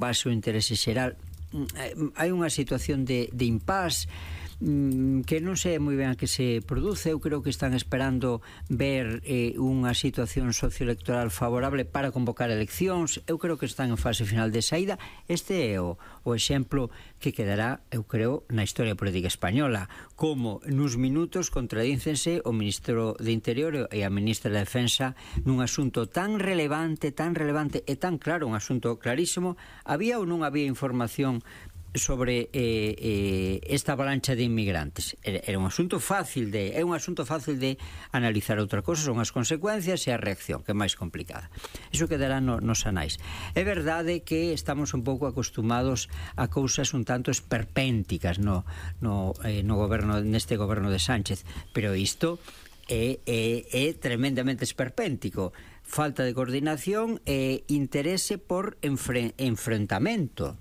base o interese xeral. Hai unha situación de impasse que non sei moi ben a que se produce. Eu creo que están esperando ver unha situación socioelectoral favorable para convocar eleccións. Eu creo que están en fase final de saída. Este é o exemplo que quedará, eu creo, na historia política española, como nuns minutos contradícense o Ministro de Interior e a Ministra de Defensa nun asunto tan relevante e tan claro, un asunto clarísimo. Había ou non había información sobre esta avalancha de inmigrantes? Era un asunto fácil de analizar. Outra cosa son as consecuencias e a reacción, que é máis complicada. Iso quedará nos anais. É verdade que estamos un pouco acostumados a cousas un tanto esperpénticas no goberno, neste goberno de Sánchez, pero isto é tremendamente esperpéntico. Falta de coordinación e interese por enfrentamento.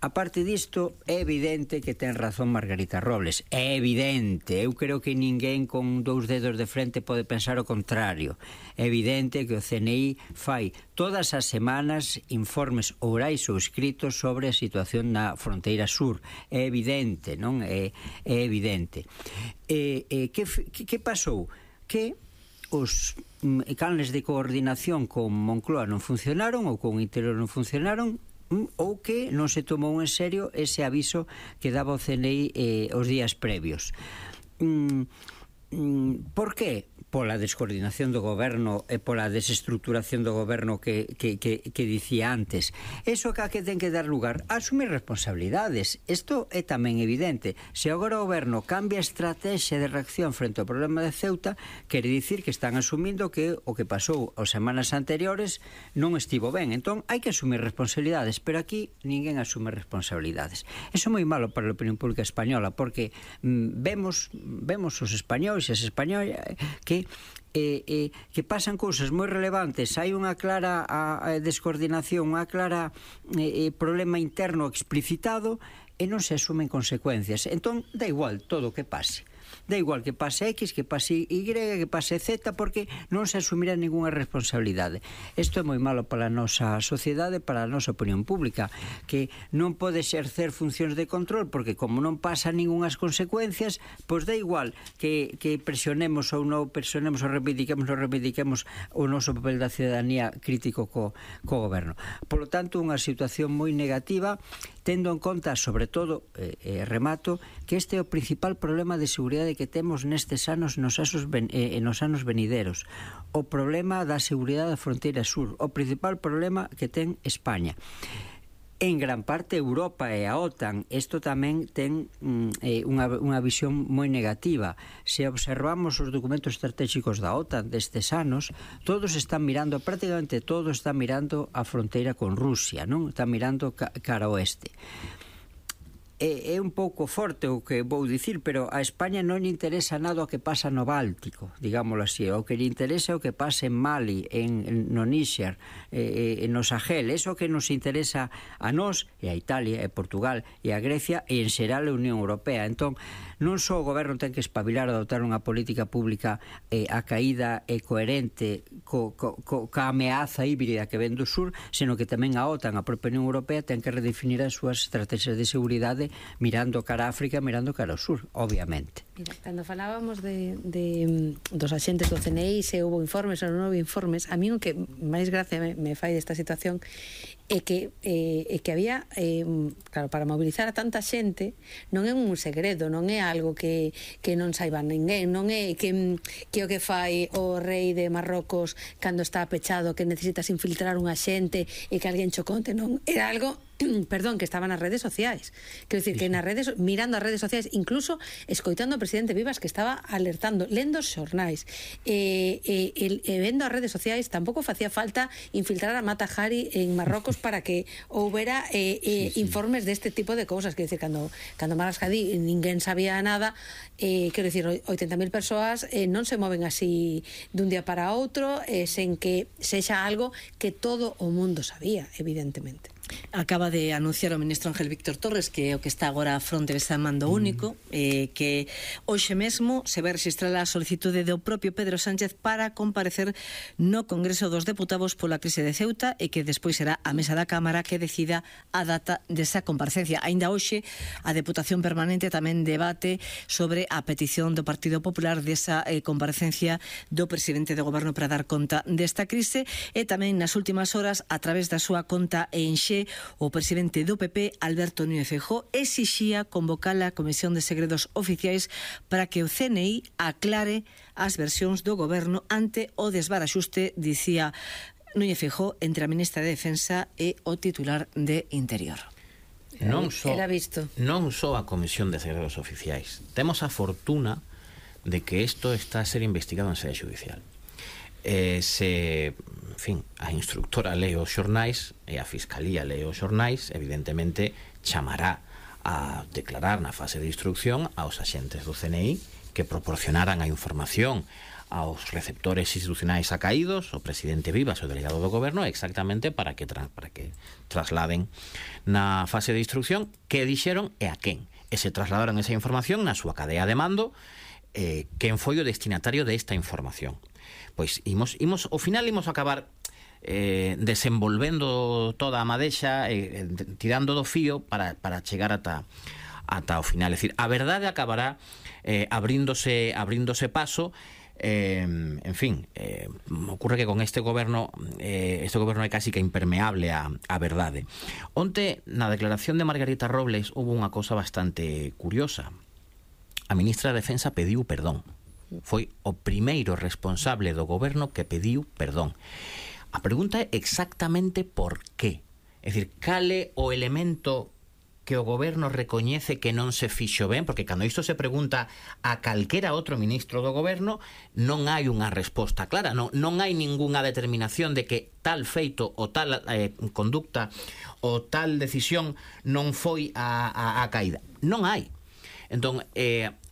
A parte disto, é evidente que ten razón Margarita Robles. É evidente. Eu creo que ninguén con 2 dedos de frente pode pensar o contrario. É evidente que o CNI fai todas as semanas informes orais ou escritos sobre a situación na fronteira sur. É evidente, non? É evidente. Que pasou? Que os canles de coordinación con Moncloa non funcionaron ou con Interior non funcionaron, ou que non se tomou en serio ese aviso que daba o CNI os días previos. Por que? Pola descoordinación do goberno e pola desestructuración do goberno que dicía antes. Eso que ten que dar lugar a asumir responsabilidades. Isto é tamén evidente. Se agora o goberno cambia a estrategia de reacción frente ao problema de Ceuta, quere dicir que están asumindo que o que pasou as semanas anteriores non estivo ben. Entón, hai que asumir responsabilidades, pero aquí ninguén asume responsabilidades. Eso é moi malo para a opinión pública española, porque vemos os españoles e as españolas que pasan cousas moi relevantes. Hai unha clara descoordinación, unha clara problema interno explicitado e non se asumen consecuencias. Entón, dá igual todo o que pase. Dá igual que pase X, que pase Y, que pase Z, porque non se asumirá ninguna responsabilidade. Isto é moi malo para a nosa sociedade, para a nosa opinión pública, que non pode exercer funcións de control, porque como non pasa ningunhas consecuencias, pois dá igual que presionemos ou non presionemos ou reivindiquemos o noso papel da cidadanía crítico co goberno. Por lo tanto, unha situación moi negativa, tendo en conta, sobre todo, remato, que este é o principal problema de seguridade que temos nestes anos nos anos venideros. O problema da seguridade da fronteira sur, o principal problema que ten España. En gran parte Europa e a OTAN. Isto tamén ten unha visión moi negativa. Se observamos os documentos estratégicos da OTAN destes anos, prácticamente todos están mirando a fronteira con Rusia, non? Están mirando cara ao oeste. É un pouco forte o que vou dicir, pero a España non lle interesa nada o que pasa no Báltico, digámoslo así. O que lle interesa é o que pasa en Mali, no Níger, no Sahel. Eso que nos interesa a nós, e a Italia, e Portugal, e a Grecia, e en xeral a Unión Europea. Entón, non só o goberno ten que espabilar a adoptar unha política pública acaída e coherente ca ameaza híbrida que ven do sur, senón que tamén a OTAN, a propia Unión Europea, ten que redefinir as súas estrategias de seguridade mirando cara a África, mirando cara ao sur, obviamente. Mira, cando falábamos dos axentes do CNI, se houve informes ou non houve informes, a mí o que máis gracia me fai desta situación é que había, claro, para mobilizar a tanta xente non é un segredo, non é algo que non saiba ninguén, non é que o que fai o rei de Marrocos cando está pechado, que necesitas infiltrar unha xente e que alguén cho conte, non, era algo perdón, que estaba nas redes sociais. Quero dicir que nas redes, mirando as redes sociais, incluso escoitando ao presidente Vivas, que estaba alertando, lendo os xornais e vendo as redes sociais. Tampouco facía falta infiltrar a Mata Hari en Marrocos para que houbera informes deste tipo de cousas. Quero dicir, cando Maras Hadid ninguén sabía nada, quero dicir, 80.000 persoas non se moven así dun día para outro, sen que sexa algo que todo o mundo sabía, evidentemente. Acaba de anunciar o ministro Ángel Víctor Torres, que é o que está agora a fronte dese mando único, que hoxe mesmo se vai registrar a solicitude do propio Pedro Sánchez para comparecer no Congreso dos Deputados pola crise de Ceuta, e que despois será a mesa da Cámara que decida a data desa comparecencia. Aínda hoxe a Deputación Permanente tamén debate sobre a petición do Partido Popular desa comparecencia do presidente do Goberno para dar conta desta crise, e tamén nas últimas horas, a través da súa conta en Xe, o presidente do PP, Alberto Núñez Feijóo, exixía convocar a Comisión de Segredos Oficiais para que o CNI aclare as versións do goberno ante o desbaraxuste, dicía Núñez Feijóo, entre a ministra de Defensa e o titular de Interior. Non só a Comisión de Segredos Oficiais. Temos a fortuna de que isto está a ser investigado en sede judicial. A instructora lee os xornais e a Fiscalía lee os xornais, evidentemente chamará a declarar na fase de instrucción aos axentes do CNI que proporcionaran a información aos receptores institucionais acaídos, o presidente Vivas e o delegado do goberno, exactamente para que trasladen na fase de instrucción que dixeron e a quen. E se trasladaron esa información na súa cadea de mando, quen foi o destinatario desta información. Pois ao final imos acabar desenvolvendo toda a madexa, tirando do fío para chegar ata o final. É dicir, a verdade acabará abríndose paso. Ocurre que con este goberno é casi que impermeable a verdade. Onte, na declaración de Margarita Robles, houve unha cousa bastante curiosa. A ministra de Defensa pediu perdón. Foi o primeiro responsable do goberno que pediu perdón. A pregunta é exactamente por qué. É dicir, cale o elemento que o goberno recoñece que non se fixo ben, porque cando isto se pregunta a calquera outro ministro do goberno, non hai unha resposta clara, non hai ningunha determinación de que tal feito ou tal conducta ou tal decisión non foi a caída. Non hai. Entón,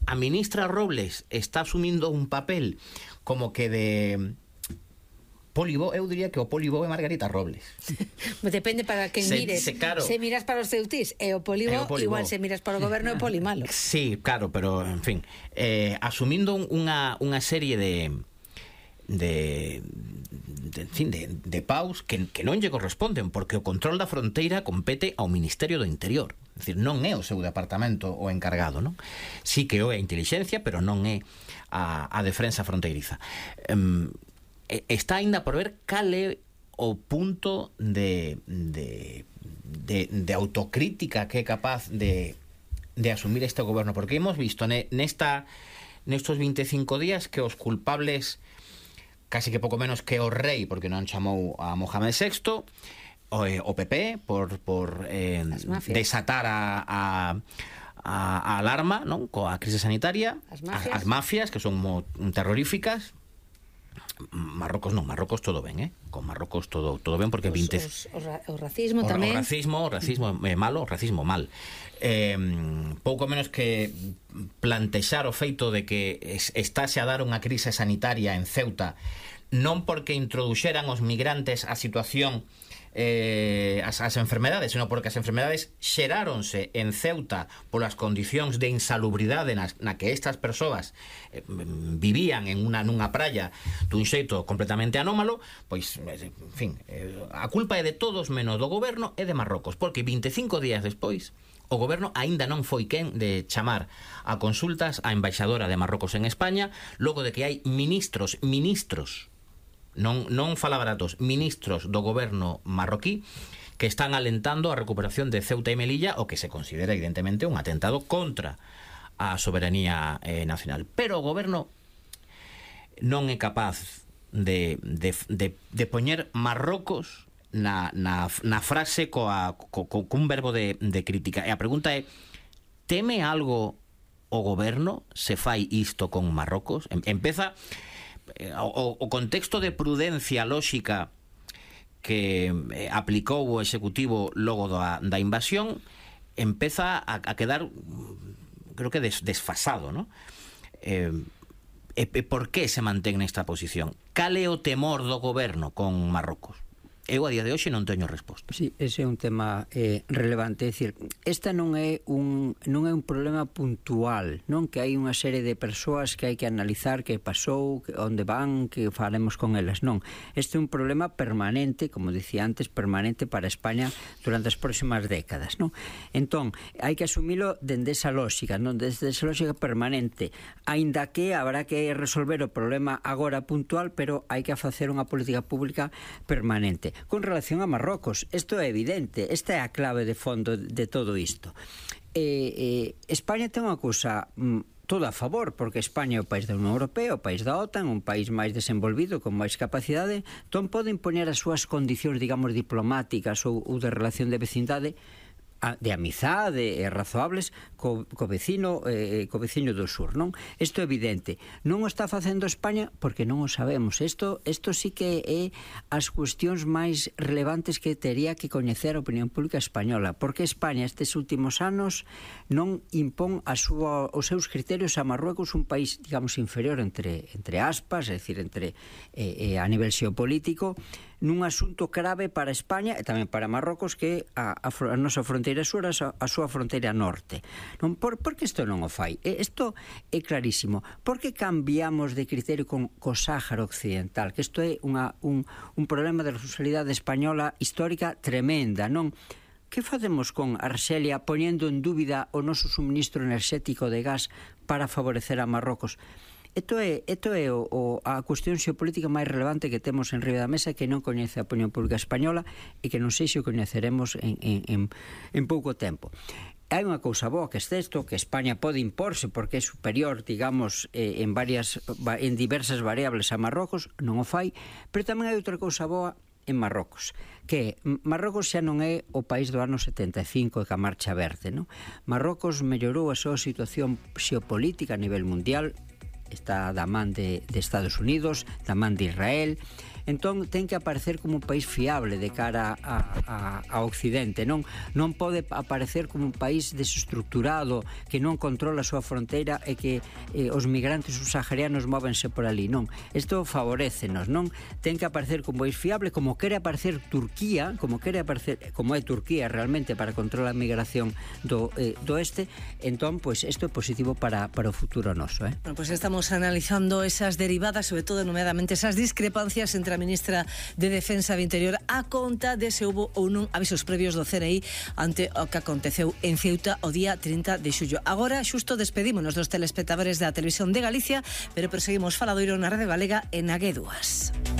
a ministra Robles está asumindo un papel como que de Polibo, eu diría que o Polibo é Margarita Robles. Depende para quen mires. Claro. Se miras para os ceutís e o Polibo, igual se miras para o goberno é Polimalo. Sí, claro, pero, en fin, asumindo unha serie de paus que non lle corresponden, porque o control da fronteira compete ao Ministerio do Interior. É dicir, non é o seu departamento o encargado, non? Sí que é a intelixencia, pero non é a defensa fronteiriza. Está aínda por ver cal é o punto de autocrítica que é capaz de asumir este goberno, porque hemos visto nestos 25 días que os culpables, casi que pouco menos que o rei, porque non chamou a Mohamed VI, o PP por desatar a alarma, non, coa crise sanitaria, as mafias que son terroríficas. Marrocos todo ben, con Marrocos todo ben, porque o racismo tamén. O racismo é malo, o racismo mal. Pouco menos que plantexar o feito de que estáse a dar unha crise sanitaria en Ceuta, non porque introduxeran os migrantes a situación as enfermedades, senón porque as enfermedades xeráronse en Ceuta polas condicións de insalubridade na que estas persoas vivían nunha praia dun xeito completamente anómalo. Pois, en fin, a culpa é de todos menos do goberno e de Marrocos, porque 25 días despois o goberno aínda non foi quen de chamar a consultas a embaixadora de Marrocos en España, logo de que hai ministros, non fala baratos, ministros do goberno marroquí que están alentando a recuperación de Ceuta e Melilla, o que se considera evidentemente un atentado contra a soberanía nacional. Pero o goberno non é capaz de poñer Marrocos na frase cun verbo de crítica. E a pregunta é: teme algo o goberno se fai isto con Marrocos? Empeza o contexto de prudencia lóxica que aplicou o executivo logo da invasión empeza a quedar, creo que desfasado, ¿no? Por que se mantén nesta posición? Cal é o temor do goberno con Marrocos? eu a día de hoxe non teño resposta. Sí, ese é un tema relevante, é dicir, esta non é un problema puntual, non que hai unha serie de persoas que hai que analizar que pasou, onde van, que faremos con elas, non. Este é un problema permanente, como dicía antes, permanente para España durante as próximas décadas, non? Entón, hai que asumilo dende esa lógica, non? Desde esa lógica permanente, aínda que habrá que resolver o problema agora puntual, pero hai que facer unha política pública permanente. Con relación a Marrocos, isto é evidente, esta é a clave de fondo de todo isto. España ten unha cousa toda a favor, porque España é o país da Unión Europea, o país da OTAN, un país máis desenvolvido, con máis capacidade, entón pode impoñer as súas condicións, digamos, diplomáticas ou de relación de vecindade, de amizade e razoables co vecino do sur, non? Isto é evidente. Non o está facendo España porque non o sabemos. Isto sí que é as cuestións máis relevantes que tería que coñecer a opinión pública española, porque España estes últimos anos non impón os seus criterios a Marruecos, un país, digamos, inferior entre aspas, é dicir, a nivel xeopolítico, nun asunto grave para España e tamén para Marrocos, que a nosa fronteira sur, a súa fronteira norte. Non, por que isto non o fai? Isto é clarísimo. Por que cambiamos de criterio co Sáhara Occidental? Que isto é un problema de responsabilidade española histórica tremenda, non? Que facemos con Arxelia poñendo en dúbida o noso suministro enerxético de gas para favorecer a Marrocos? Isto é a cuestión xeopolítica máis relevante que temos en riba da mesa, que non coñece a opinión pública española e que non sei se o coñeceremos en pouco tempo. Hai unha cousa boa que é isto, que España pode imporse porque é superior, digamos, en diversas variables a Marrocos, non o fai, pero tamén hai outra cousa boa en Marrocos, que Marrocos xa non é o país do ano 75 que a marcha verde, non? Marrocos mellorou a súa situación xeopolítica a nivel mundial, está da man de Estados Unidos, da man de Israel, entón ten que aparecer como un país fiable de cara a Occidente, non pode aparecer como un país desestructurado que non controla a súa fronteira e que os migrantes subsaharianos móvense por ali, non. Isto favorécenos, non? Ten que aparecer como país fiable, como quere aparecer Turquía, como é Turquía realmente para controlar a migración do este, entón, pois, isto é positivo para o futuro noso, Bueno, pois estamos analizando esas derivadas, sobre todo, nomeadamente, esas discrepancias entre a ministra de Defensa e Interior a conta de se houbo ou non avisos previos do CNI ante o que aconteceu en Ceuta o día 30 de xullo. Agora, xusto, despedímonos dos telespectadores da Televisión de Galicia, pero perseguimos faladoiro na Rede Galega e na G2.